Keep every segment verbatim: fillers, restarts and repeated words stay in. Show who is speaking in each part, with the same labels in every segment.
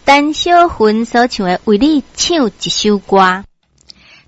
Speaker 1: 陳小芬所唱的《為你唱一首歌》。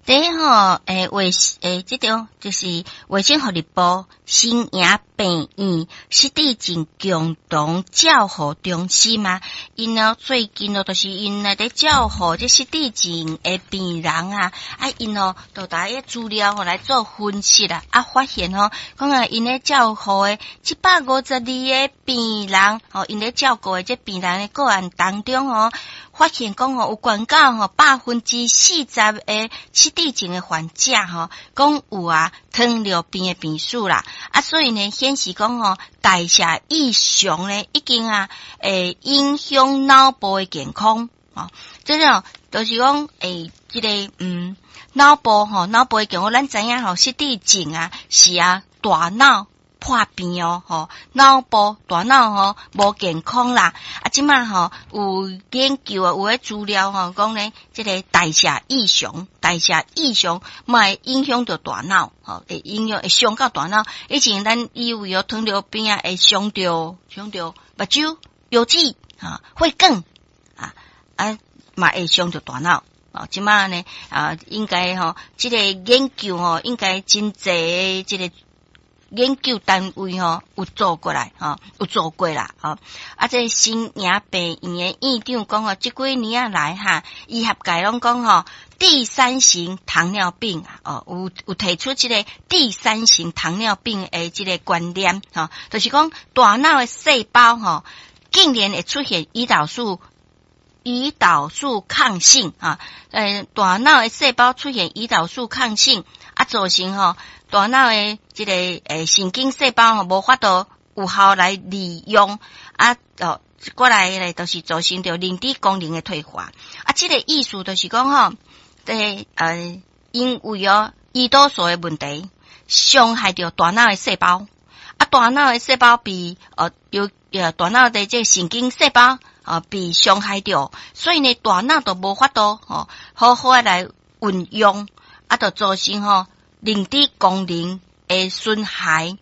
Speaker 2: 第一吼，欸，衛欸，這張就是衛生福利部新營病院失智症共同照護中心啊，𪜶哦最近哦，就是𪜶來佇照護這失智症的病人啊，啊，𪜶哦，就拿彼資料吼來做分析啦，啊，發現吼，講啊，𪜶咧照護的七百五十二个病人，吼，𪜶咧照顧的這病人的個案當中吼，發現講吼有懸到吼百分之四十的失智症的患者吼，講有啊糖尿病的病史啦，啊，所以呢顯示講吼代謝異常呢已經啊會影響腦部的健康，吼，這種就是講欸，這个嗯腦部吼腦部的健康，咱知影吼失智症啊是啊大腦破病哦，吼，腦部大腦吼無健康啦。啊，這馬吼有研究啊，有咧資料吼講呢，這个代謝異常，代謝異常嘛會影響著大腦，吼，會影響會傷到大腦。以前咱以為哦糖尿病啊會傷著傷著目睭、腰子、哈血管啊啊嘛會傷著大腦。哦，這馬呢啊，應該吼這个研究吼應該真濟這个研究單位吼有做過來吼，有做過啦吼。啊，這新營病院的院長講吼，這幾年仔來哈，醫學界攏講吼，第三型糖尿病啊，哦，有有提出這個第三型糖尿病的這個觀念吼，就是講大腦的細胞吼，竟然會出現胰島素胰島素抗性啊，呃，大腦的細胞出現胰島素抗性啊，造成吼大腦的這个欸神經細胞吼無法度有效來利用啊，哦，過來咧，就是造成著認知功能的退化。啊，這个意思就是講吼，這呃，因為哦胰島素的問題，傷害著大腦的細胞。啊，大腦的細胞被呃有呃大腦的這個神經細胞啊被傷害著，所以呢，大腦就無法度吼好好的來運用，啊，就造成吼認知功能的損害。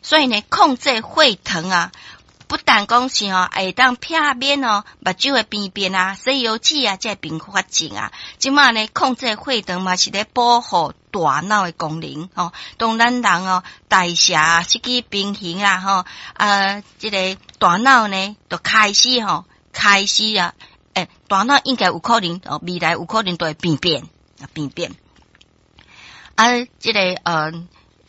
Speaker 2: 所以呢，控制血糖啊，不但講是吼會當避免哦目睭的病變啊、西腰子啊，這併發症啊。這馬呢，控制血糖嘛是咧保護大腦的功能吼。當咱人哦代謝失去平衡啊吼，啊，這个大腦呢就開始吼開始啊，欸，大腦應該有可能哦，未來有可能都會病變啊，病變。啊，這个呃，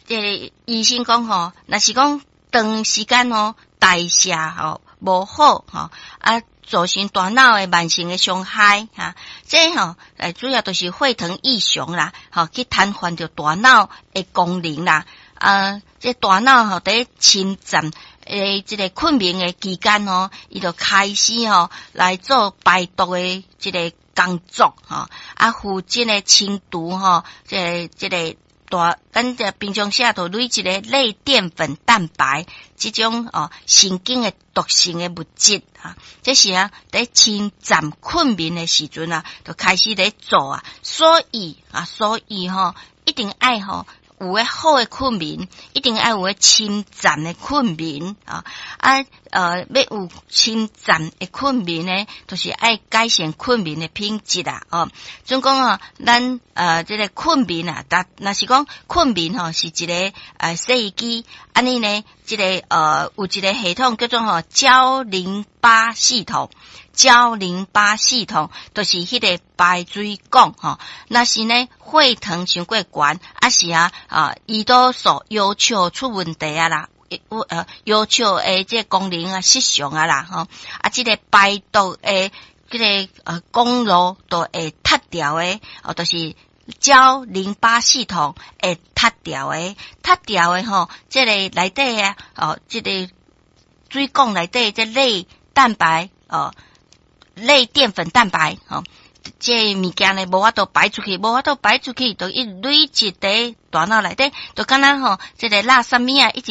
Speaker 2: 這个醫生講吼，若是講長時間吼代謝吼無好吼，啊，造成大腦的慢性的傷害哈，這吼，欸，主要就是血糖異常啦，吼，去癱瘓著大腦的功能啦，啊，這大腦吼佇深層的這個困眠的期間吼，伊就開始吼來做排毒的這個工作吼，啊，負責的清除吼，這個這個。大，咱這平常時就累積的類澱粉蛋白這種哦神經的毒性的物質啊，這是啊佇深層困眠的時陣啊，就開始咧做啊，所以啊，所以吼一定愛吼有個好的困眠，一定愛有個深層的困眠啊啊呃，欲有深層的困眠呢，就是愛改善困眠的品質啦哦。總講哦，咱呃這个困眠啊，但若是講困眠吼是一个呃洗衣機，按呢呢，這个呃有一个系統叫做吼膠淋巴系統。膠淋巴系統就是彼个排水管吼，若是呢血糖傷過懸，抑是啊啊胰島素要求出問題啊啦，呃要求的這個功能啊失常啊啦吼，啊這个排毒的這个呃管路都會塞牢的，哦，就是膠淋巴系統會塞牢的，塞牢的吼，這个內底啊哦，這个水管內底這類蛋白哦。類澱粉蛋白，吼，這物件呢無法度排出去，無法度排出去，就一累積佇大腦內底，就敢若吼，這个垃圾物仔一直